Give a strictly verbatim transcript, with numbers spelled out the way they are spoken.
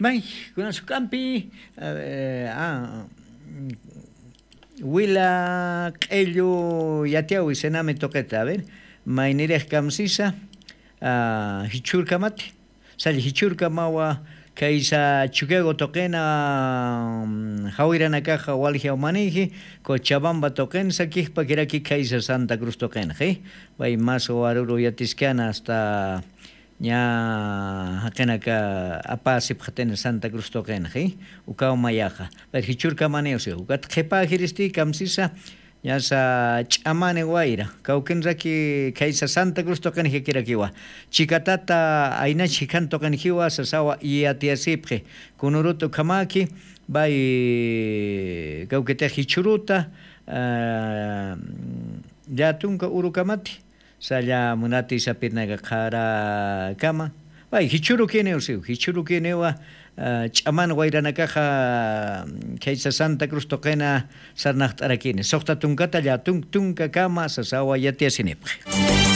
May, kunas juk'ampi wila q'ellu yatiawi senami tuqita a ver, maynirix kamsisa jichhurkamati. Salla jichhurkamawa khaysa chukiago tuqina jawiranakaxa waljiaw maniji cochabamba tuqina sakijpakiraki khaysa santa cruz tuqina ji. Pay mas waruru yatiskana asta ña jaqinaka apasipxatina santa cruz tuqina ji. Ukaw mayaxa pay jichhurkamaniw si ukat qhipajiristi kamsisa ñasa ch'amani wayra kawkinraki khaysa santa cruz tuqinjikirakiwa. Chikatata aynach jikhan tuqinjiwa sasawa iyatiyasipxi. Kunurut ukhamaki pay kawkitix jichhuruta llatunka urukamati salla munati sapirnaka qharakama. Pay jichhurukiniw siw jichhurukiniwa ch'aman wayranakaxa khaysa santa cruz tuqina sarnaxt'arakini suxta tunkata llatun tunkakama sasawa yatiyasinipxi.